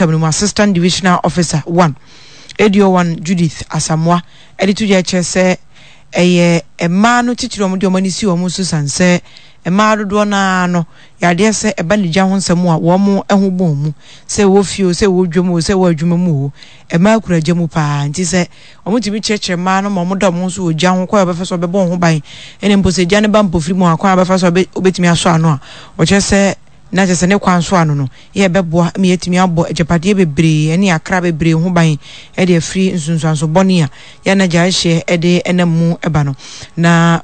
mpɔtam no mu Assistant Divisional Officer 1 ADO1 Judith Asamoah de to dwa kyerɛ sɛ ɛyɛ mmaa no titiriw a wɔde wɔn ani si wɔn so sane sɛ mmaa dodoɔ no ara no yɛ adeɛ sɛ ɛba ne gya ho nsɛm a wɔn ho bɔn mu sɛ ɛwɔ fie o sɛ ɛwɔ dwam o sɛ ɛwɔ adwuma mu o mmaa kura gya mu paa nti sɛ wɔtumi kyerɛkyerɛ mmaa no ma wɔda wɔn ho so wɔ gya ho kwan a wɔbɛfa so wɔbɛbɔ wɔn ho ban ɛne mpo sɛ gya no ba mpofiri mu a kwan a wɔbɛfa so wɔbɛtumi asɔ ano a wɔkyerɛ sɛ na kyerɛ sɛ ne kwan so ano no yɛ ɛbɛboa ma yɛatumi abɔ agyapadeɛ bebree ne akra bebree ho ban de afiri nsunsuanso bɔne a yɛn na gyae hyeɛ de nam mu ba no. Na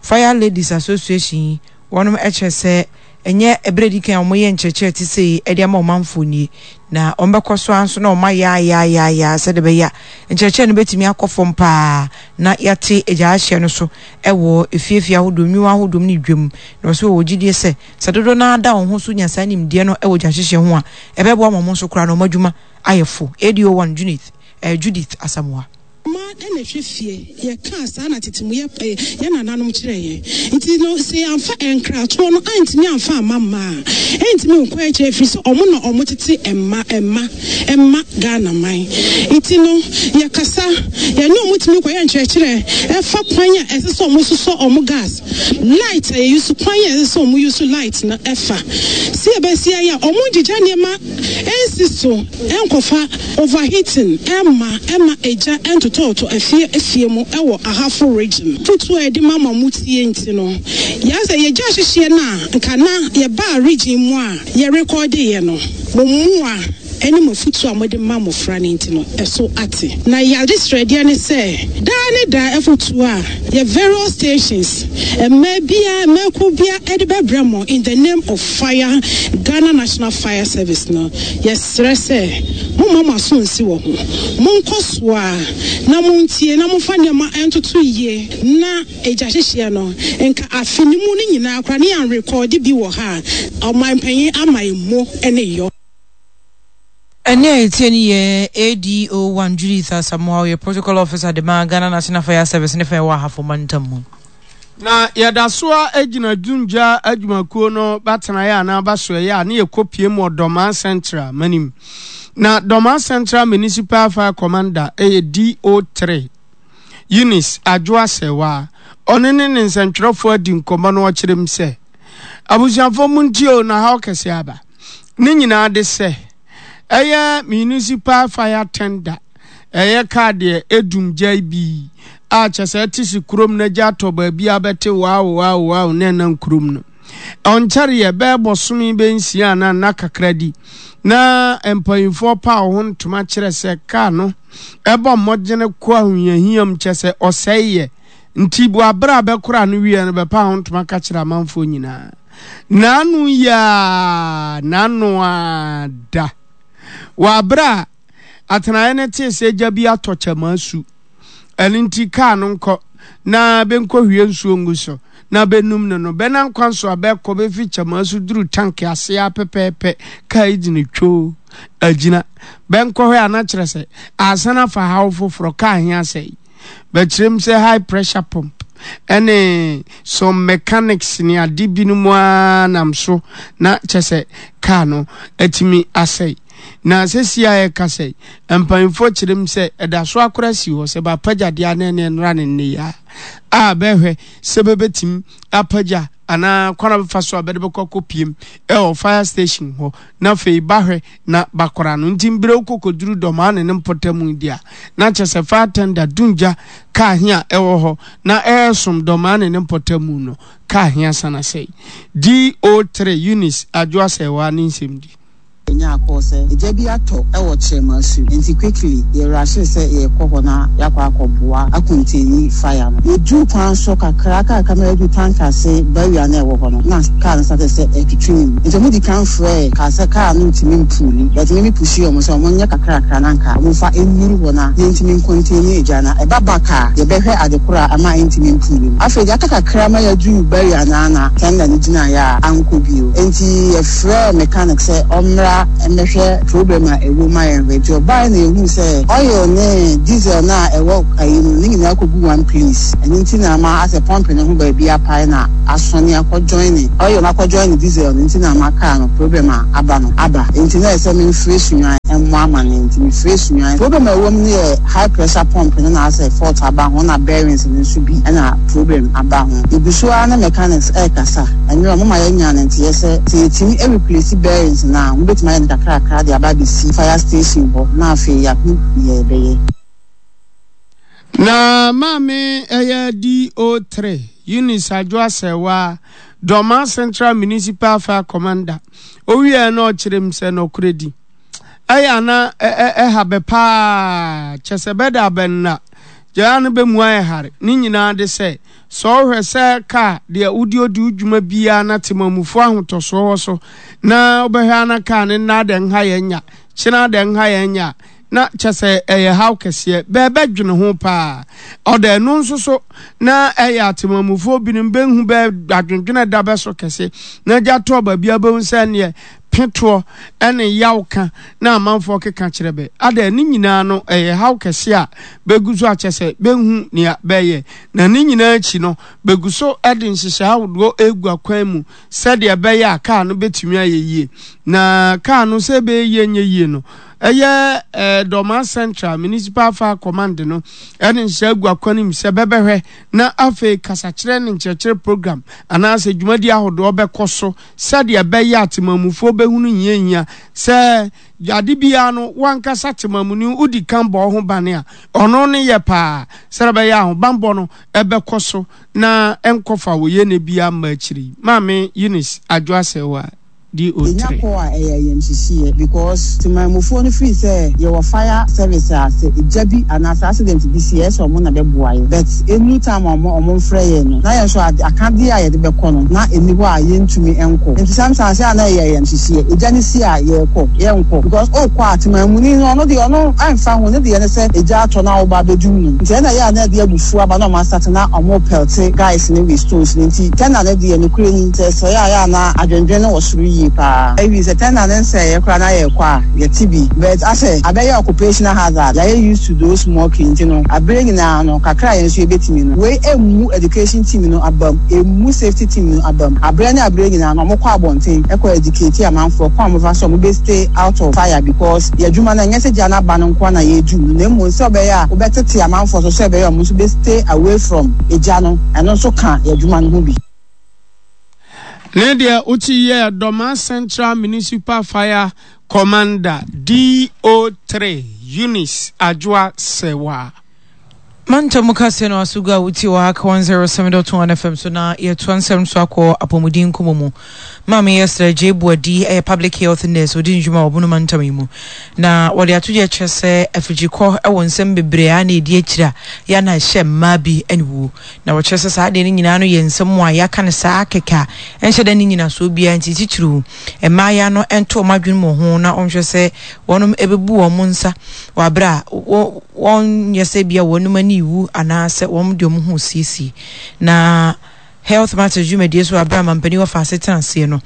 Fire Ladies Association yi, wɔnom kyerɛ sɛ ɛnyɛ ɛberɛ a ɛdi kan a wɔyɛ nkyerɛkyerɛ te sei de ama ɔmanfoɔ nie, na wɔbɛkɔ so ara nso na wɔayɛ ayaayaaya sɛdeɛ ɛbɛyɛ a nkyerɛkyerɛ no bɛtumi akɔ fam paa na yɛate gyae hyeɛ no so wɔ efiefie ahodoɔ, nnwuma ahodoɔ mu ne dwam. Na wɔsɛ wɔwɔ gyidie sɛ Sɛ dodow no ara da wɔn ho so nya saa nimdeɛ no wɔ gyahyehye ho a, ɛbɛboa ma wɔn nso koraa no wɔn adwuma ayɛ fo. ADO 1 Junith eh, Judith Asamoah. Mmaa na ɛhwɛ fie, yɛkaa saa na tete mu yɛ yɛn nananom kyerɛɛ yɛn. Nti no sɛ yɛamfa nkratoɔ no antumi amfa amma mmaa a, ɛntumi nkɔ akyire ɛfiri sɛ wɔn na wɔtete mma mma mma Ghana man. Nti no yɛkasa, yɛne wɔn tumi kɔyɛ nkyerɛkyerɛ ɛfa kwan a ɛsɛ sɛ wɔsosɔ wɔn gas, Light a yɛ use kwan a ɛsɛ sɛ ɔmo use light no ɛfa sɛ yɛbɛsi ayɛ a ɔmo ngyigya nneɛma ɛnsi so ɛnkɔfa overheating ɛmma ɛma egya ɛntotɔɔtɔ afie afie mu ɛwɔ Ahafo region. Afotuo a yɛde ma ma mo tie nti no yɛasɛ yɛgya hyehyeɛ no a nka na yɛbaa region mu a yɛ rekɔɔdeeɛ no mo mmoa ɛne mo afotuo a mode ma mmɔfra no nti no ɛso ate. Na yɛn adesrɛdeɛ ne sɛ daa ne daa afotuo a yɛ various stations mmaa biara mmakuo biara de bɛbrɛ mo in the name of fire Ghana National Fire Service no yɛsrɛ sɛ momma mo aso nsi wɔ ho monkɔ so ara na montie na momfa nneɛma ntoto yie na egya hyehyeɛ no nka afe no mu no nyinaa koraa ne yɛanrekɔɔde bi wɔ ha a ɔmanpanyin ama yɛn mo ne yɔ. Ɛnne a yɛtie no yɛ ADO1 Judith Asamoah, ɔyɛ Protocol Officer de ma Ghana National Fire Service ne fa ɛwɔ Ahafo Mantam mu. Na yɛda so ara gyina Dumgya adwumakuo no batenaeɛ anaa basoɛeɛ a ne yɛkɔpue mu wɔ Dormaa Central manim. Na Dormaa Central Municipal Fire Commander yɛ DO3 Eunice Adwoa Serwaa. Ɔno ne ne nsɛntwerɛfoɔ adi nkɔmmɔ na ɔkyerɛ mu sɛ, Abusuafoɔ montie o, na haw kɛseɛ aba. Ne nyinaa de sɛ, ɛyɛ municipal fire tender, ɛyɛ kaa deɛ ɛdum gyae bi a kyɛ sɛ ɛte se kurom na gya atɔ baabi a bɛte wow wow wow na ɛnam kurom no. Ɔnkyɛreɛ bɛyɛ bɔsome bɛnsia anaa nna kakra di na mpanyinfoɔ paw ho ntoma kyerɛ sɛ kaa no ɛbɔ mmɔdene kɔ ahohiahiam kyɛ sɛ ɔsɛe yɛ nti bu abere a bɛkora no wieɛ no bɛpa ho ntoma ka kyerɛ amanfoɔ nyinaa. N'ano yi ara, n'ano ara da. Wɔ abere a atenaeɛ no tee sɛ gya bi atɔ kyɛmaa su, ɛno nti kaa no nkɔ na bɛnkɔhwie nsuo ngu so na bɛnum no no, bɛnam kwan so a bɛkɔ bɛfiri kyɛmaa su duru tanke ase ara pɛpɛɛpɛ, kaa yi gyina twoo, agyina. Bɛnkɔhwɛ a na kyerɛ sɛ asan afa haw foforɔ, kaa he asɛe. Bɛkyerɛ mu sɛ high pressure pump ɛne some mechanics ne ade binom ara nam so na kyɛ sɛ kaa no atumi asɛe. Na sɛsi a yɛka sɛ mpanyinfoɔ kyerɛ mu sɛ ɛda so akora si hɔ sɛ bɛapagya deɛ anɛ ne ɛnra ne nneyɛ a a bɛhwɛ sɛ bɛbɛtumi apagya anaa kwan a bɛfa so a bɛde bɛkɔ akɔpiem ɛwɔ fire station hɔ na afei bahwɛ na bakora no nti mbrɛ wokɔ kɔduru dɔmaa ne ne mpɔtamu yi deɛ a na kyerɛ sɛ fire tender dungya kaa he a ɛwɔ hɔ na ɛɛsom dɔmaa ne ne mpɔtamu no kaa he asan asɛe. DO3 Eunice Adwo Asɛewaa ne nsɛmdi. Yɛnyaa call sɛ egya bi atɔ wɔ Kyeremasu nti quickly yɛ rushee sɛ yɛrekɔ hɔ na yɛakɔ akɔboa acontaini fire no. Yɛduruu kwan so kakra kakra ma yɛduru tank ase barrier no a ɛwɔ hɔ no na car no started sɛ ɛretwetwe ne mu nti wɔn di kan frɛɛ car sɛ car no ntumi mpuuli but me me pushii wɔn sɛ wɔn nyɛ kakrakra na anka wɔn mfa nnuru hɔ na yɛntumi ncontaini egya no ɛba back a yɛbɛhwɛ ade koro a ama ɛntumi mpuuli no. Afei deɛ aka kakra ma yɛaduru barrier no ara na tender no gyinaeɛ a ankɔ bio nti yɛfrɛɛ mechanic sɛ ɔmmra mmɛhwɛ problem a ɛwɔ mu ma yɛnhwɛ. Nti ɔbaeɛ na yɛhuu sɛ oil ne diesel no a ɛwɔ ayi no ne nyinaa kɔgu one place. Ɛno nti na ama asɛ pump no ho baabi apae na asɔne akɔ joine oil no akɔ joine diesel no nti na ama car no problem a aba no aba. Nti na ɛsɛ memfrɛ Sunyani. memmɔ amanneɛ nti mefrɛɛ Sunyani. Problem a ɛwɔ mu no yɛ high pressure pump no na asɛ fault aba ho na bearings no nso bi na problem aba ho. Yɛgu so ara ne mechanics ɛrekasa. Ɛnwerɛ wɔma yɛnyaa no nteɛ sɛ sɛ yɛtumi replace bearings no a wɔbɛtumi ayɛ no kakrakra de aba abɛsi fire station hɔ na afei yɛahu deɛ yɛbɛyɛ. Na maame ɛyɛ DO3 Eunice Adwo Asɛwaa, Dormaa Central Municipal Fire Commander. Owieɛ na ɔkyerɛ mu sɛ nɔkorɛ di. Ɛyɛ ana ɛha bɛ paa, kyɛ sɛ bɛda abɛ nna, gyaa no bɛ mu ayɛ hare. Ne nyinaa de sɛ, sɛ ɔhwɛ sɛ kaa deɛ wode odi wo dwuma biara na temamufoɔ ahotɔsoɔ wɔ so, na wobɛhwɛ ana kaa no nna adɛ nha yɛn nya, kyena adɛ nha yɛn nya a, na kyɛ sɛ ɛyɛ haw kɛseɛ. Bɛɛbɛdwene ho paa. Ɔda ɛno nso so na ɛyɛ atemamufoɔ binom bɛnhu bɛ adwendwene da bɛ so kɛse. Na gya tɔɔ baabi a bɛhu sɛ neɛ petoɔ ne yaw ka na amanfoɔ keka kyerɛ bɛ. Ada ne nyinaa no ɛyɛ haw kɛse a bɛgu so akyɛ sɛ bɛnhu nea bɛyɛ. Na ne nyinaa akyi no bɛgu so de nhyehyɛe ahodoɔ regu akwan mu sɛdeɛ ɛbɛyɛ a kaa no bɛtumi ayɛ yie. Na kaa no sɛ ɛbɛyɛ yie nyɛ yie no, ɛyɛ eh, Dormaa Central Municipal Fire Command no ɛde nhyɛ agu akwan mu sɛ bɛbɛhwɛ na afei kasakyerɛ ne nkyerɛkyerɛ program anaasɛ dwumadi ahodoɔ bɛkɔ so sɛdeɛ ɛbɛyɛ a temamufoɔ bɛhunu hiahia sɛ ade biara no wankasa temamuni wodi kan bɔ ho bane a ɔno ne yɛ paa sɛdeɛ ɛbɛyɛ ahobanbɔ no ɛbɛkɔ so na ɛnkɔfa wɔ yɛ ne biara mma akyiri. Maame Eunice Adwo Asɛwa di Yɛnya otre. kɔ a ɛyɛ ayamhyehyeɛ because temanmufoɔ no firi sɛ yɛwɔ fire service a sɛ egya bi anaa sɛ accident bi si a ɛyɛ sɛ ɔmo na bɛboa yɛ but ɛnuru time a ɔmo ɔmo mfrɛ yɛn no na yɛn nso ade akadeɛ a yɛde bɛkɔ no na ɛnni hɔ a yɛntumi nkɔ nti sometimes ɛyɛ a na ɛyɛ ayamhyehyeɛ egya no si a yɛkɔ yɛnkɔ because wokɔ a temanmuni no ɔno deɛ ɔno ɛmfa ho ne deɛ ne sɛ egya atɔ na woba abɛdum no nti ɛna ɛyɛ a na ɛde abufuo aba na ɔmo asate na ɔmo pelte guys no with stones no nti tɛna no deɛ nokorɛ ni sɛ ɛsɛe a ɛyɛ a na adwendwen no wɔ soro yie paa. Even sɛ tɛna no nsɛeɛ koraa na yɛkɔ a yɛte bi but asɛ abɛyɛ occupational hazard yɛayɛ used to those smoking nti no aberɛ nyinaa no kakra a yɛn nso yɛbɛtumi no wei ɛmmu education team no abam ɛmmu safety team no abam aberɛ ne aberɛ nyinaa no wɔkɔ abɔnten kɔ educate amanfoɔ kwan a wɔbɛfa so a wɔbɛ stay out of fire because yɛn adwuma no ɛnyɛ sɛ gya no aba no nko ara na yɛredum no na mmom sɛ ɔbɛyɛ a wobɛtete amanfoɔ so sɛ ɛbɛyɛ a wɔn nso bɛ stay away from egya no ɛno nso ka yɛn adwuma no ho bi. Ne deɛ wokyi yɛ Dormaa Central Municipal Fire Commander DO3 Eunice Adwoa Sewaa. Mantam mu kaseɛ no aso gu a wotie wɔ ha ka 107.1 FM so na yɛtoa nsɛm so akɔ apɔmuden nkɔmmɔ mu. Maame Esther Adjei Boadi yɛ public health nurse ɔdi ne dwuma wɔ Bono mantam yi mu. Na wɔde ato dwa kyerɛ sɛ afirikyikɔ wɔ nsɛm bebree a na ɛdi akyire a yɛ a na ɛhyɛ mmaa bi aniwuo. Na wɔkyerɛ sɛ saa adeɛ no nyinaa no yɛ nsɛm a yɛaka no saa kɛkɛ a ɛnhyɛ da nni nyinasoɔ biara nti titiriw mmaayaa no nto wɔn adwene mu ho na wɔnhwɛ sɛ wɔnom ɛbɛbu wɔn nsa wɔ aberɛ a wɔnyɛ sɛ bia wɔnom ani rewu anaasɛ wɔn de wɔn ho resiesie. Na Health Matters dwumadie so aberɛ a mampanin wɔfa ase tena aseɛ no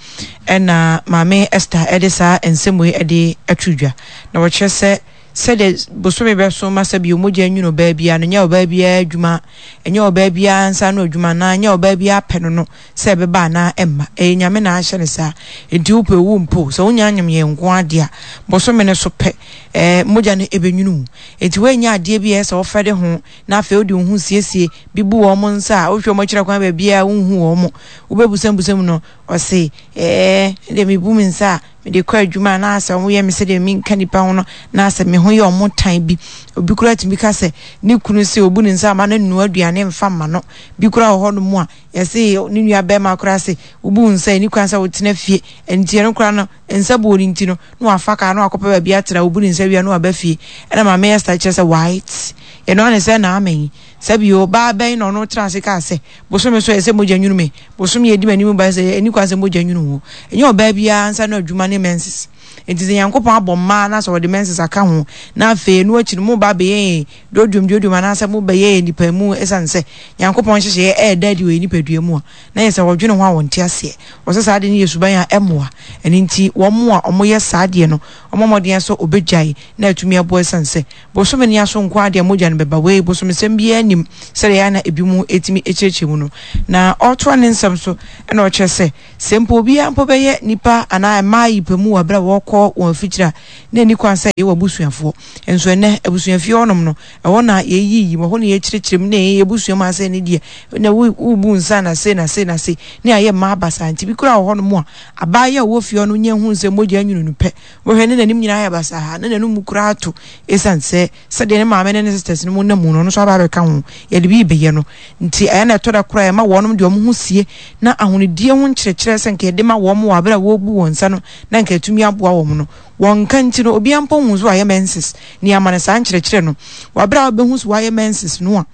ɛna Maame Esther ɛde saa nsɛm wei ɛde ato dwa na wɔkyerɛ sɛ Sɛdeɛ bosome bɛso ma sɛdeɛ mogya nwunu ɔbaa biara no, nyɛ ɔbaa biara adwuma, ɛnyɛ ɔbaa biara nsa ano adwuma anaa ɛnyɛ ɔbaa biara pɛ no no sɛ ɛbɛba anaa ɛmma. Ɛyɛ Nyame na ahyɛ no saa. Enti wopɛ o wompɛ o, sɛ wonya anyem yɛn nko ara deɛ a, bosome no so pɛ, ɛɛ, mogya no ɛbɛnwunu wo. Enti woannya adeɛ bi a ɛyɛ sɛ wofɛre ho na afei wode wo ho siesie bi bu wɔn nsa a, wohwɛ wɔn akyiri kwan baabiara a wonhu wɔn. Wobɛbusabusa mu no, ɔse, ɛɛ, ɛdeɛ mebu me nsa a, mede kɔ adwuma a na asɛ wɔyɛ me sɛdeɛ menka nnipa ho no, na asɛ me ho yɛ wɔn tan bi. Obi koraa tumi ka sɛ ne kunu sɛ obu ne nsa ama no nnoa aduane mfa mma no. Bi koraa wɔ hɔnom a, yɛse ne nua bɛrima koraa se wobu wo nsa ɛni kwan sɛ wotena fie. Nti ɛno koraa no, nsa buo no nti no, na wafa kaa na wakɔpɛ baabi atena, obu ne nsa wie a na waba fie. Ɛna Maame Esther kyerɛ sɛ white. Yɛno ara ne sɛ na amen. Sɛbi ɔbaa bɛn na ɔno tena ase kaa sɛ Bosome so ɛsɛ mogya nwunu me. Bosome a ɛdi m'anim ba sɛ ɛnni kwan sɛ mogya nwunu wo. Ɛnyɛ ɔbaa biara nsa ano adwuma ne menses. Enti sɛ Nyankopɔn abɔ mmaa na sɛ ɔde menses aka ho na afei ɛno akyi no moba abɛyɛ yɛn duoduom duoduom anaasɛ mobɛyɛ yɛn nnipa mu ɛsiane sɛ Nyankopɔn nhyehyɛeɛ ɛreda adi wɔ yɛn nipadua mu a, na yɛ sɛ wɔdwene ho a wɔnte aseɛ. Wɔsɛ saa ade no yɛ suban a ɛmmoa. Ɛno nti wɔn a wɔyɛ saa adeɛ no wɔmmɔ mmɔden sɛ wɔbɛgyae na atumi aboa ɛsiane sɛ Bosome no aso nko ara deɛ mogya no bɛba. Wei, bosomsɛm biara nnim sɛdeɛ ɛyɛ a na ebinom tumi kyerɛkyerɛ mu no. Na ɔretoa ne nsɛm so na ɔkyerɛ sɛ, sɛ mpo obiara mpo bɛyɛ nnipa anaa mmaa yi pɛ mu wɔ berɛ a wɔrekɔ. wɔkɔ wɔn afikyiri a, na ɛnni kwan sɛ yɛwɔ abusuafoɔ. Nso ɛnnɛ, abusuafie hɔnom no, ɛhɔ na yɛyiyi mu, ɛhɔ na yɛkyerɛkyerɛ mu, na yɛyɛ abusua mu asɛ ne deɛ, na wobu nsa na sei na sei na sei, ne ayɛ mmaa basaa. Nti bi koraa wɔ hɔnom a, abaayewa a ɔwɔ fie hɔ no nya hu sɛ mogya nwunu no pɛ, wobɛhwɛ ne n'anim nyinaa ayɛ basaa, na n'anum koraa ato, ɛsiane sɛ sɛdeɛ ne maame ne ne sisters no mu nam mu no, ɔno nso aba abɛka ho, yɛde bi rebɛyɛ no. Nti ɛyɛ na ɛtɔ da koraa ɛma wɔnom de wɔn ho sie, na ahonidie ho nkyerɛkyerɛ sɛ nka yɛde ma wɔn wɔ abere a wɔrebu wɔn nsa no, na nka ɛtumi aboa wɔn no, wɔnka nti no, obiara mpo nhu sɛ wayɛ menses, na yɛama no saa nkyerɛkyerɛ no. Wɔ abere a wobɛhu sɛ wayɛ menses no a,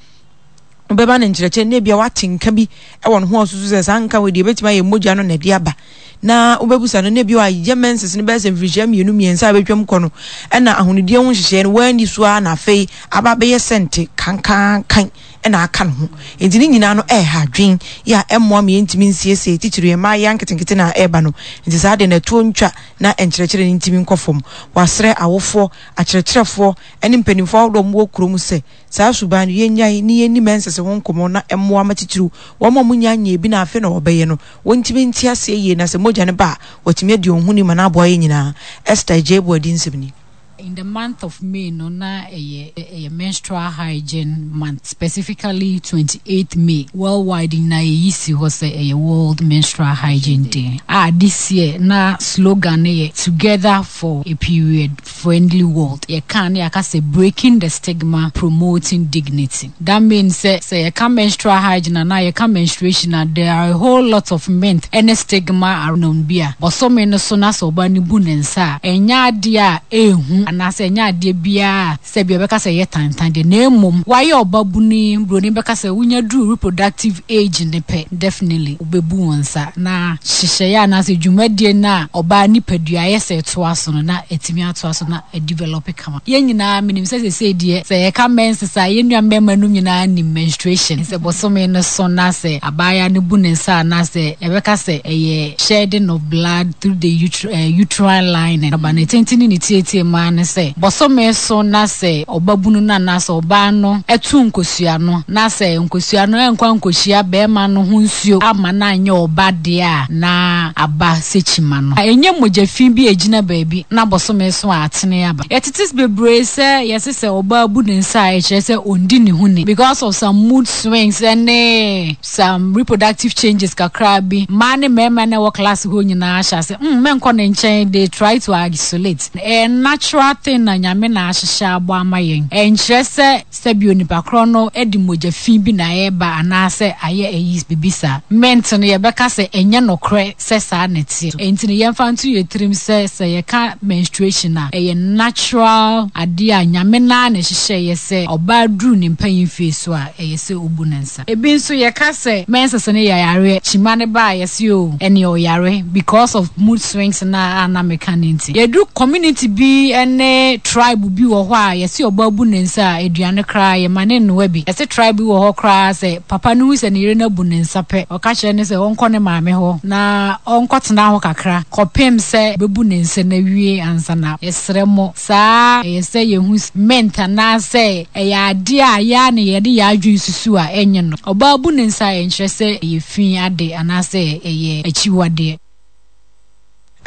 wobɛma no nkyerɛkyerɛ na ebia wate nka bi wɔ ne ho a ɔsusu sɛ saa nka wei deɛ ebɛtumi ayɛ mogya no na ɛde aba na wobɛbusa no na ebia wayɛ menses no bɛyɛ sɛ mfirihyia mmienu mmiɛnsa a bɛtwam kɔ no ɛna ahonidie ho nhyehyɛeɛ no wanni so ara na afei aba abɛyɛ sɛnte kankankan na aka ne ho nti ne nyinaa no ɛreha adwen yɛ a ɛmmoa ma yɛntumi nsiesie titiri yɛn mmayewa nketenkete na ɛreba no nti saa deɛ na ɛtoɔ ntwa na nkyerɛkyerɛ no ntumi nkɔ fam. Wɔasrɛ awofoɔ, akyerɛkyerɛfoɔ ne mpanimfoɔ ahodoɔ a wɔwɔ kurom sɛ Saa suban no, yennyae ne yenni menses ho nkɔmmɔ na ɛmmoa ma titiriw wɔn a wɔnnya nyɛɛ bi na afei na wɔbɛyɛ no, wontumi nte aseɛ yie na sɛ mogya no ba a, wɔatumi adi wɔn ho ni ma no aboa yɛn nyinaa. Esther Adjei-Boadi nsɛm ni. In the month of May no na ɛyɛ ɛyɛ menstrual hygiene month specifically 28th May worldwide nyinaa yɛyi si hɔ sɛ ɛyɛ world menstrual hygiene day a this year na slogan no yɛ together for a period friendly world. Yɛka a na yɛaka sɛ breaking the stigma, promoting dignity. That means sɛ sɛ yɛka menstrual hygiene anaa yɛka menstruation a, there are a whole lot of myth ne stigma around bi a bɔsome no so na sɛ ɔbaa no bu ne nsa a, ɛnyɛ adeɛ a ɛnhu anaasɛ ɛnyɛ adeɛ biara a sɛbi ɔbɛka sɛ ɛyɛ tantan deɛ na mmom wayɛ ɔbabunu yi, buroni bɛka sɛ wonya duru reproductive age no pɛ, definitely wobɛbu wo nsa na nhyehyɛeɛ anaasɛ dwumadie no a ɔbaa nipadua ayɛ sɛ ɛtoa so no na atumi atoa so na adevelop kama. Yɛn nyinaa menim sɛ seesei deɛ sɛ yɛka menses a yɛn nua mmarima nom nyinaa nim menstruation. Sɛ bosome no so na sɛ abaayewa no bu ne nsa anaasɛ yɛbɛka sɛ ɛyɛ shedding of blood through the uterine lining. Aba ne tenten ne ne tietie mu ara ne sɛ bosome so na sɛ ɔbabunu no anaasɛ ɔbaa no to nkosua no na sɛ nkosua no ankɔ ankɔhyia barima no ho nsuo amma no anyɛ ɔba deɛ a, na aba sɛ kyima no. Ɛnyɛ mogya fi bi a ɛgyina baabi na bosome so a atene aba. Yɛtete bebree sɛ yɛse sɛ ɔbaa bu ne nsa a ɛkyerɛ sɛ ɔndi ne ho ni because of some mood swings ne some reproductive changes kakra bi. Mmaa ne mmarima na ɛwɔ class hɔ nyinaa hyɛ ase mm mɛnkɔ ne nkyɛn, they try to isolate. Ɛyɛ natural thing na Nyame na ahyehyɛ abɔ ama yɛn. Ɛnkyerɛ sɛ sɛbi onipa korɔ no de mogya fi bi na ɛreba anaasɛ ayɛ ayi biribi saa. Mint no yɛbɛka sɛ ɛnyɛ nokorɛ sɛ saa na ɛteɛ. Enti no yɛmfa nto yɛn tirim sɛ sɛ yɛka menstruation a, ɛyɛ natural adeɛ a Nyame no ara na ɛhyehyɛeɛ sɛ ɔbaa duru ne mpanin mfie so a ɛyɛ sɛ ɔbu ne nsa. Ebi nso yɛka sɛ menses no yɛ yareɛ, kyima no ba a yɛse oo ɛneɛ ɔyare because of mood swings no a na meka no nti. Yɛduru community bi ne tribe bi wɔ hɔ a yɛse ɔbaa bu ne nsa a aduane koraa yɛma no nnoa bi. Yɛse tribe bi wɔ hɔ koraa sɛ papa no hu sɛ ne yere no abu ne nsa pɛ ɔka kyerɛ no sɛ ɔnkɔ ne maame hɔ na ɔnkɔtena hɔ kakra kɔpem sɛ ɔbɛbu ne nsa no awie ansa na yɛsrɛ mo Saa ara ɛyɛ sɛ yɛhu mint anaasɛ ɛyɛ adeɛ a yɛn ara na yɛde yɛn adwene susu a ɛnyɛ no. Ɔbaa bu ne nsa a ɛnkyerɛ sɛ ɛyɛ fi ade anaasɛ ɛyɛ akyiwadeɛ.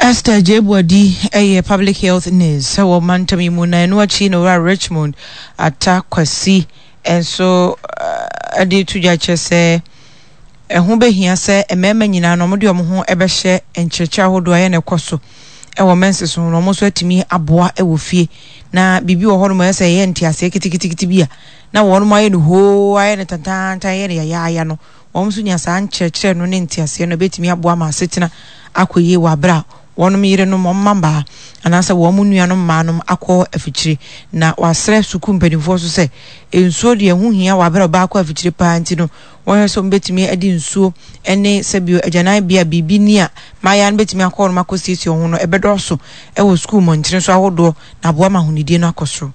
Esther Gyei-Boadi yɛ Public Health Nurse wɔ mantam yi mu na ɛno akyi na Owura Richmond Atta Kwasi nso de reto dwa kyerɛ sɛ ɛho bɛhia sɛ mmarima nyinaa no wɔde wɔn ho bɛhyɛ nkyerɛkyerɛ ahodoɔ a ɛyɛ na ɛkɔ so wɔ menses ho no wɔn nso atumi aboa wɔ fie na biribi wɔ hɔnom ɛyɛ sɛ ɛyɛ nteaseɛ keteketekete bi a na wɔn ayɛ no hoo ayɛ no tantaantan ayɛ no yayaaya no wɔn nso nya saa nkyerɛkyerɛ no ne nteaseɛ no ɛbɛtumi aboa ma asetena akɔ yie wɔ abere a wɔn yerenom, wɔn mmabaa, anaasɛ wɔn nuanom mmaanom akɔ afikyire. Na wɔasrɛ sukuu mpanimfoɔ nso sɛ nsuo deɛ ɛho hia wɔ abere a ɔbaa kɔ afikyire paa nti no wɔhwɛ sɛ wɔbɛtumi de nsuo ne sɛbio agyananbea a biribi ni a mmaayewa no bɛtumi akɔ hɔnom akɔsiesie wɔn ho no ɛbɛdɔɔso wɔ sukuu mmɔntene so ahodoɔ na aboa ma ahonidie no akɔ soro.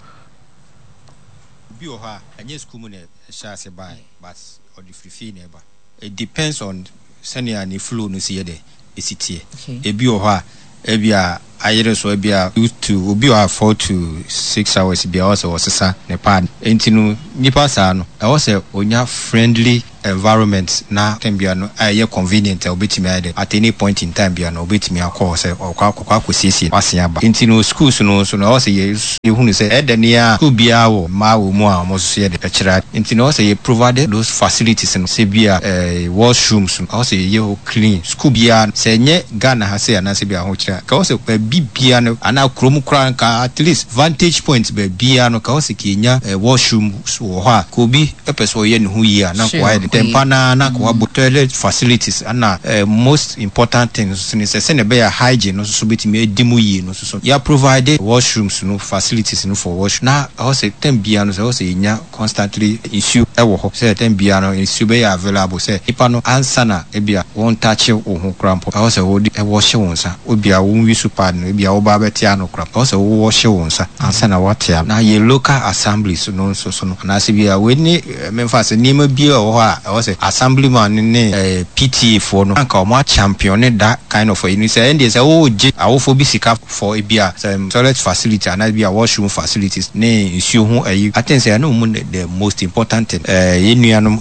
Obi wɔ hɔ a, ɛnyɛ sukuu mu na ɛhyɛɛ ase baeɛ but ɔde firi fie na ɛba. It depends on sɛnea ne flow no si yɛ dɛ, ɛsi teɛ. Ebi wɔ hɔ a, ebia ayere so ebia two to, obi wɔ hɔ a 4 to 6 hours biara ɛwɔ sɛ ɔsesa ne pad. Enti no, nipa saa no, ɛwɔ sɛ ɔnya friendly. environment na time biara no a ɛyɛ convenient a obetumi ayɛ dɛ at any point in time biara no obetumi akɔ hɔ sɛ ɔkɔ akɔ akɔsiesie w'ase aba. Nti no schools no nso no ɛwɔ sɛ yɛ yɛhunu sɛ ɛyɛ dɛ ne a school biara wɔ mmaa wɔ mu a wɔn nso yɛ dɛ ɛkyerɛ ade. Nti no ɛwɔ sɛ yɛ provide those facilities no sɛ bi a ɛɛ washrooms no ɛwɔ sɛ yɛyɛ hɔ clean. School biara no sɛ ɛnyɛ Ghana ha sei anaasɛ bi a ahokyerɛ a nka ɛwɔ sɛ baabi biara no anaa kurom koraa nka at least vantage point baabiara no nka ɛwɔ sɛ nka yɛnya washroom wɔ hɔ a nka obi pɛ sɛ ɔyɛ ne ho yie a na nka wayɛ dɛ ntɛmpa no ara na nka wabɔ toilet facilities ɛna most important thing nso ne sɛ sɛnea ɛbɛyɛ a hygiene no nso so bɛtumi adi mu yie no nso so yɛ provide washrooms no facilities no for washroom na ɛwɔ sɛ time biara no sɛ ɛwɔ sɛ yɛnya constantly nsuo wɔ hɔ sɛ time biara no nsuo bɛyɛ available sɛ nipa no ansa na ebia wɔn touch wo ho koraa mpo ɛwɔ sɛ wode wɔhye wo nsa ebia wo use pad no ebia wo ba bɛte ano koraa ɛwɔ sɛ wo wɔhye wo nsa ansa na woate ano. Na yɛ local assemblies no nso so no anaasɛ bi a wei ne memfa sɛ nneɛma bi a ɛwɔ hɔ a ɛwɔ sɛ assemblyman no ne PTA foɔ no anka wɔn achampione that kind of ayi no sɛ ɛndeɛ sɛ wogye awofoɔ bi sika for ebia sɛ toilet facility anaa ebia washroom facilities ne nsuo ho ayi I think sɛ ɛno mu ne the most important thing. Yɛn nuanom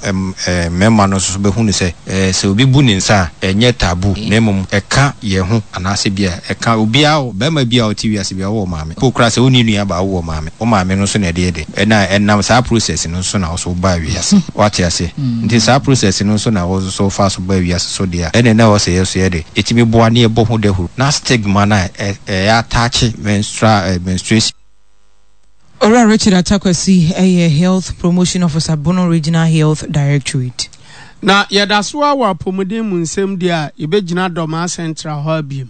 mmarima no nso bɛhunu sɛ sɛ obi bu ne nsa a ɛnyɛ taboo na mmom ɛka yɛn ho anaasɛ ebia ɛka obiara barima biara a ɔte wiase biara wowɔ maame mpo koraa sɛ wonni nua baa wowɔ maame wo maame no nso na ɛde yɛ dɛ ɛna ɛnam saa process no nso na wo nso wobaa wiase woate aseɛ nti saa process no nso na wo nso wofaa so baa wiase so deɛ a ɛne na ɛwɔ sɛ yɛn nso yɛde ɛtumi boa ne yɛbɔ ho dahuro na stigma no a ɛyɛ attach menstrual menstruation. Owura Richard Atta-Kwasi yɛ Health Promotion Officer, Bono Regional Health Directorate. Na yɛda so ara wɔ apɔmuden mu nsɛm di a yɛbɛgyina Dormaa Central hɔ abiem.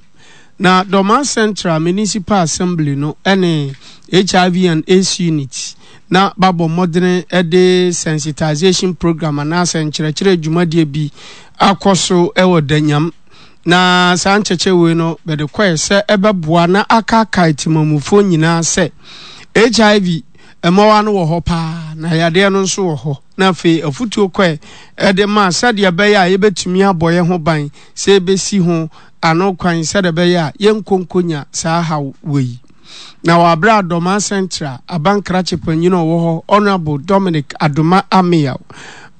Na Dormaa Central Municipal Assembly no ne HIV and AIDS Unit na babɔ mmɔdene de sensitization program anaasɛ nkyerɛkyerɛ dwumadie bi akɔ so wɔ Danyam. Na saa nkyɛkyɛ wei no bɛde kɔɛ sɛ ɛbɛboa na akaakae temamufoɔ nyinaa sɛ HIV mmoawa no wɔ hɔ paa na yadeɛ no nso wɔ hɔ. Na afei afutuo kɔɛ ɛde ma sɛdeɛ ɛbɛyɛ a yɛbɛtumi abɔ yɛn ho ban sɛ yɛbɛsi ho ano kwan sɛdeɛ ɛbɛyɛ a yɛnkɔ nkɔnya saa haw wei. Na wɔ aberɛ a Dormaa Central abankrakye panyin a ɔwɔ hɔ Honourable Dominic Adoma Ameyaw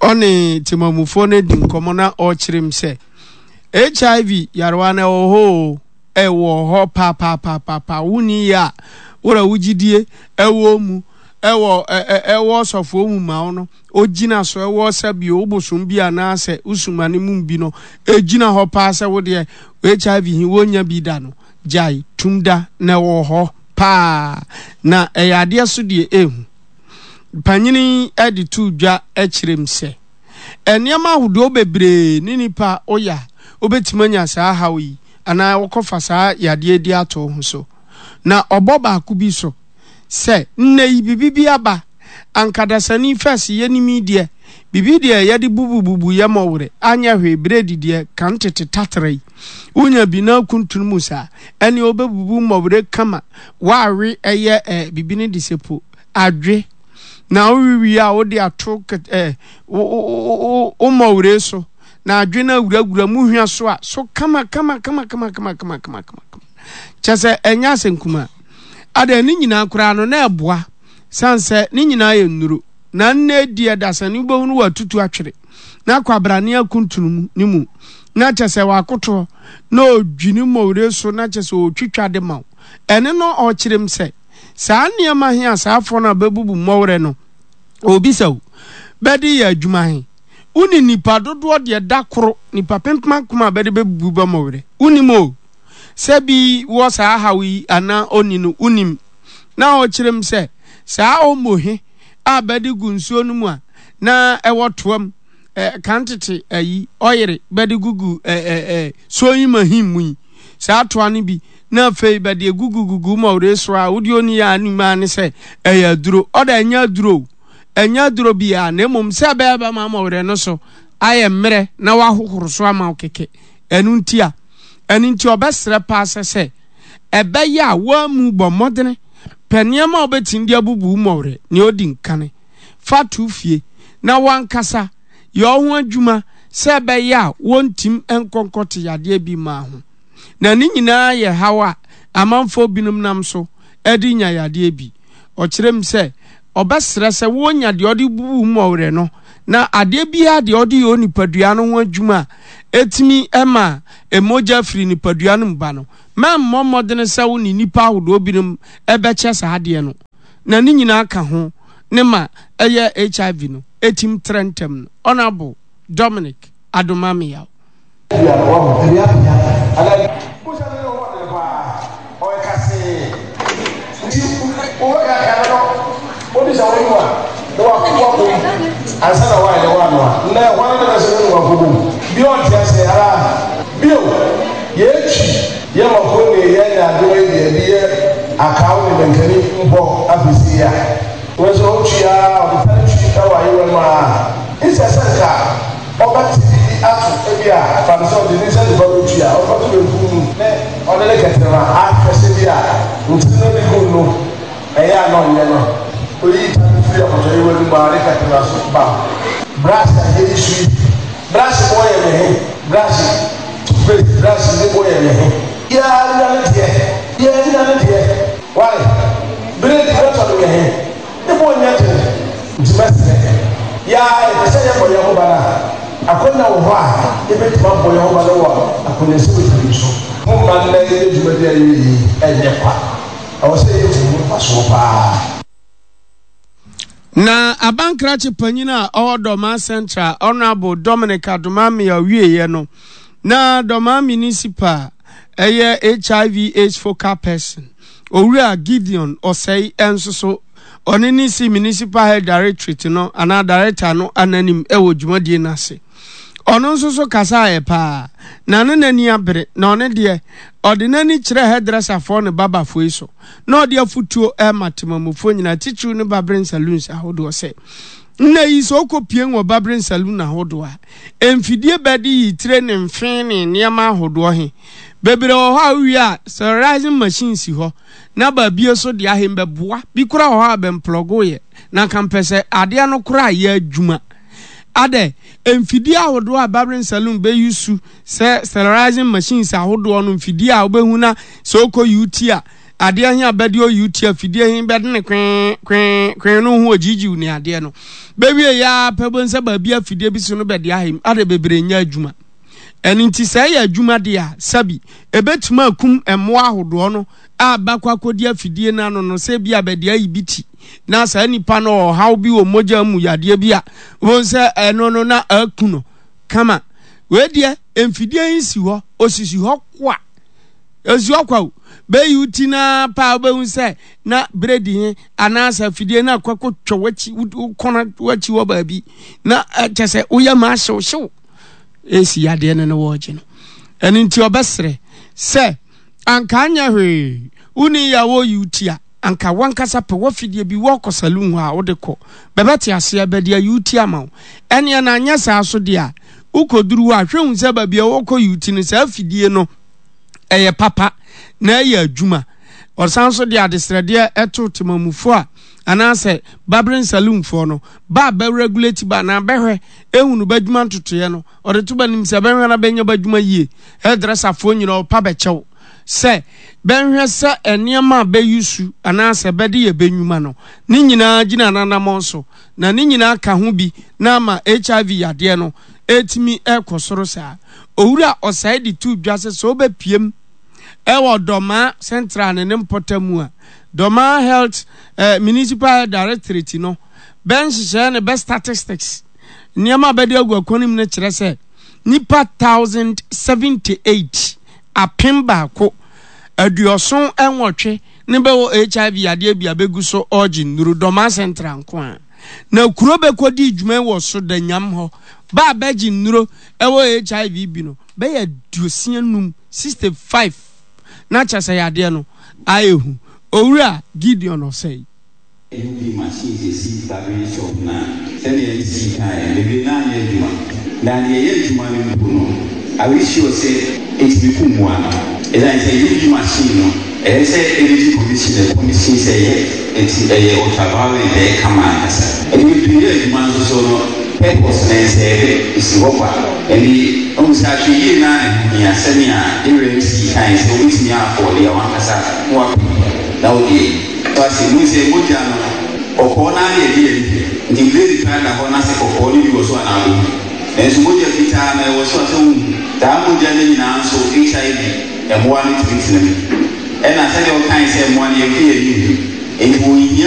ɔne temamufoɔ no adi nkɔmmɔ na ɔrekyerɛ mu sɛ HIV yarewa no ɛwɔ hɔ o, ɛwɔ hɔ paapaapaapaa. Wonni yɛ a, wora wo gyidie ɛwɔ mu, ɛwɔ ɛwɔ ɔsɔfoɔ mu ma wo no, ogyina so ɛwɔ sɛ bio wo bosom bi anaasɛ wo sumane mu bi no, ɛgyina hɔ paa sɛ wo deɛ HIV he wonya bi da no, gyae tum da na ɛwɔ hɔ paa. Na ɛyɛ adeɛ so deɛ ɛhu. Panyini yi de too dwa kyerɛ mu sɛ, Nneɛma ahodoɔ bebree ne nipa a woyɛ a wobɛtumi anya saa haw yi anaa wokɔfa saa yadeɛ di ato wo ho so. Na ɔbɔ baako bi so sɛ, nnɛ yi biribi bi aba, anka dasani fɛs yɛnim yi deɛ, biribi deɛ yɛde bubububu yɛ mɔwerɛ, anyɛ hwee, bredi deɛ kan tete tatra yi, wonya bi na akuntunu mu saa, ɛneɛ wobɛbubu mɔwerɛ kama, woawe ɛyɛ eh, biribi no de sɛ po, adwe. Na wowe wie a wode ato ɛ wo wo wo mmɔweree so na adwe no awurawura mu hwa so a so kama kama kama kama kama kama kama kama kyɛ sɛ ɛnyɛ asɛnkuma ada ne nyinaa koraa no na ɛboa san sɛ ne nyinaa yɛ nnuro na nnɛ di ɛdasani wobɛhunu watutu atwere na kwabrane akuntunu mu ne mu na kyɛ sɛ wakotoɔ na ɔdwini mmɔweree so na kyɛ sɛ ɔtwitwa de ma wo ɛne no ɔkyerɛm sɛ Saa nneɛma he a saa afoɔ no a bɛbubu mmɔwerɛ no oobisa wo, bɛde yɛ adwuma he, wone nnipa dodoɔ deɛ da koro nnipa pempem a bɛde bɛbubu bɛ mmɔwerɛ? Wonim o, sɛ bi wɔ saa haw yi anaa onni no, wonim. Na ɔkyerɛ mu sɛ, saa omo he a bɛde gu nsuo no mu a na ɛwɔ toa mu, eh, kan tete ayi, ɔyere, bɛde gugu eh, eh, eh, sewing machine mu yi, saa toa no bi, na afei bɛde egugugugu ma ɔde so a wode oni yɛ anim ara ne sɛ ɛyɛ aduro. Ɔda ɛnyɛ aduro o, ɛnyɛ aduro biara, na mmom sɛ ɛbɛyɛ bɛma ama ɔwerɛ no so ayɛ mmerɛ na wahohoro so ama wo kɛkɛ. Ɛno nti a, ɛno nti ɔbɛsrɛ paa sɛ sɛ ɛbɛyɛ a woamu bɔ mmɔdene pɛ nneɛma a wobɛtumi de abubu wo mmɔwerɛ nea ɔdi nkane fa to fie na wankasa yɛ wo ho adwuma sɛ ɛbɛyɛ a wontim nkɔ nkɔte yadeɛ bi mmaa ho. Na ne nyinaa yɛ haw a amanfoɔ binom nam so de nya yadeɛ bi. Ɔkyerɛ mu sɛ, ɔbɛsrɛ sɛ wɔnya deɛ ɔde bubu mmɔwerɛ no. Na adeɛ biara deɛ ɔde yɛ onipadua no ho adwuma a ɛtumi ma mogya firi nipadua no mu ba no, mɛmmɔ mmɔdene sɛ wo ne nnipa ahodoɔ binom bɛkyɛ saa adeɛ no. Na ne nyinaa ka ho ne ma ɛyɛ HIV no ɛtim trɛ ntɛm no. Honourable Dominic Adomah-Miyao. Bia no wahu ɛde apia ana busa no ne ho ɔdene paa ɔyɛ kasee nti wobɛka ka no no wode sɛ wonom a na wato wabom ansa na wayɛ dɛ wanoa nnɛ hwan ne bɛsɛ no nom akɔbom bi ɔnte aseɛ ara bio yɛtwi yɛ mako ne yɛ nyaadowa yi deɛ ɛde yɛ akaw ne mankani mpɔ afesie a wei nso ɔtwi ara ɔde tare twi wɔ ayewa mu ara nsɛ sɛ nka Ɔbɛte biribi ato, ebia fa no sɛ ɔde ne nsa nifa retua a, ɔde bɛto benkum mu ne ɔde ne kɛtrɛma ahwɛ sɛ ebia ntini no de gu no ɛyɛ a na ɔnyɛ no. Oyi ta no firi apɔtɔyowa no mu a ne kɛtrɛma so bam. Brush a yɛyi so yi, brush boɔ yɛ me he? Brush, toothpaste, brush ne boɔ yɛ me he? Biara nya ne deɛ, biara nya ne deɛ. Wai, beredi bɛtɔ no me he? Ne bo nyɛ den, nti mɛsrɛ. Yɛ ara yɛpɛ sɛ yɛbɔ yɛn ho ban a, akwannya wɔ hɔ a yɛbɛtumi abɔ yɛn ho ban wɔ akwannyasɛm bebree so. Momma nnɛ yɛnyɛ dwumadi a yɛreyɛ yi nyɛ kwa. Ɛwɔ sɛ yɛhu ho mfasoɔ paa. Na abankrakye panyin a ɔwɔ Dormaa Central, Honourable Dominic Adomah-Ameyaw wieeɛ no, na Dormaa Municipal ɛyɛ HIV AIDS focal person, Owura Gideon Osei nso so, ɔno ne si Municipal Health Directorate no anaa Director no ananim wɔ dwumadie no ase. Ɔno nso so kasaeɛ paa, na ne n'ani abere, na ɔno deɛ, ɔde n'ani kyerɛ hairdresserfoɔ ne barberfoɔ yi so, na ɔde afotuo rema temamufoɔ nyinaa, titiriw ne barbering saloons ahodoɔ sɛ, Nnɛ yi sɛ wokɔ pue wɔ barbering saloon ahodoɔ a, mfidie bɛde yi tire ne mfe ne nneɛma ahodoɔ he. Bebree wɔ hɔ a wowie a sterilizing machine si hɔ na baabie so deɛ ahe bɛboa. Bi koraa wɔ hɔ a bɛmplɔgo yɛ na nka mpɛ sɛ adeɛ no koraa yɛ adwuma. Adɛ mfidie ahodoɔ a barbering saloon bɛ use sɛ sterilizing machines ahodoɔ no mfidie a wobɛhu na sɛ wokɔ UT a adeɛ he a bɛde ɔ UT a fidie he bɛde ne kwee kwee kwee no ho ɔgyiigyiw ne adeɛ no bɛwie yɛ ara pɛ wobɛhu sɛ baabi a fidie bi so no bɛde ahe mu adɛ bebree nyɛ adwuma. Ɛno nti sɛ ɛyɛ adwuma deɛ a, sɛbi, ɛbɛtumi akum mmoa ahodoɔ no a bɛakɔ akɔdi afidie no ano no, sɛ ebia bɛde ayi bi ti, na saa nipa no ɔwɔ ɔhaw bi wɔ mogya mu yadeɛ bi a, wobɛhu sɛ ɛno no na aku no kama. Wei deɛ, mfidie yi si hɔ, ɔsisi hɔ kwa. Ɔsi hɔ kwa o. Bɛyi wo ti no ara pɛ a, wobɛhu sɛ na beredi he anaasɛ afidie no akɔ akɔtwa w'akyi, wo kɔn w'akyi hɔ baabi, na kyɛ sɛ woyɛ ma ahyewhyew. Esi yadeɛ no ne wɔregye no. Ɛno nti ɔbɛsrɛ sɛ anka anyɛ hwee wonni yɛ a wɔreyi wo ti a anka wankasa pɛ wafidie bi wɔkɔ saloon hɔ a wode kɔ bɛbɛte aseɛ bɛde ayi wo ti ama wo. Ɛneɛ na anyɛ saa so deɛ a wokɔduru hɔ a hwɛ hu sɛ baabi a wɔkɔ yi wo ti no saa afidie no ɛyɛ papa na ɛyɛ adwuma. Ɔsan so de adesrɛdeɛ ɛto temamufoɔ a anaasɛ barbering saloonfoɔ no ba a bɛ regulate ba anaa bɛhwɛ ehunu b'adwuma ntotoeɛ no, ɔde to b'anim sɛ bɛnhwɛ na bɛnyɛ b'adwuma yie. Hairdresser foɔ nyina ɔpa bɛkyɛw sɛ bɛnhwɛ sɛ nneɛma a bɛ use anaasɛ bɛde yɛ bɛ nnwuma no, ne nyinaa gyina n'anamɔn so, na ne nyinaa ka ho bi na ama HIV yadeɛ no ɛretumi ɛrekɔ soro saa. Owura Osei de too dwa sɛ sɛ wobɛpiem ɛwɔ Dormaa Central ne ne mpɔtam a, Dormaa Health eh, Municipal Health Directorate no bɛ nhyehyɛɛ ne bɛ statistics nneɛma a bɛde agu akwan mu no kyerɛ sɛ nnipa 1,078, 1,078, ne bɛwɔ HIV yadeɛ bi a bɛgu so ɔɔgye nnuru, Dormaa Central nko ara. Na kuro bɛkɔdii dwuma yi wɔ so da nyam hɔ, bɛ a bɛgye nnuro wɔ HIV bi no bɛyɛ 65, 65, na kyerɛ sɛ yadeɛ no ayɛ hu. Owura Gideon Osei. UV machines esi barbering shop no a, sɛnea MC kaeɛ no, bebree no ara nyɛ adwuma. Na deɛ ɛyɛ adwuma no mpo no, are we sure sɛ ɛtumi ku mmoa no? Ɛsiane sɛ UV machine no, ɛyɛ sɛ Energy Commission na ɛcommission sɛ ɛyɛ, nti ɛyɛ ultraviolet, ɛyɛ kama ankasa. Ɛde bebree yɛ adwuma nso so no, purpose no ɛnsɛɛve, ɛsi hɔ kwa. Ɛnde, wohu sɛ ahwɛyie no ara na ɛho hia, sɛnea yɛn MC kaeɛ sɛ wobɛtumi a afford a, w'ankasa na woapɛ bi na wode ayi. Wate? Mohu sɛ mogya no. Kɔkɔɔ no ara na yɛde yɛn ani hwɛ. Nti blade koraa da hɔ na sɛ kɔkɔɔ no bi wɔ so a na wobɛhu. Nanso mogya fitaa no ɛwɔ so a sɛ wonhu. Saa mogya no nyinaa nso HIV mmoa no tumi tena mu. Ɛna sɛdeɛ wokae sɛ mmoa no yɛmfa yɛn ani nhu. Nti wɔnhia.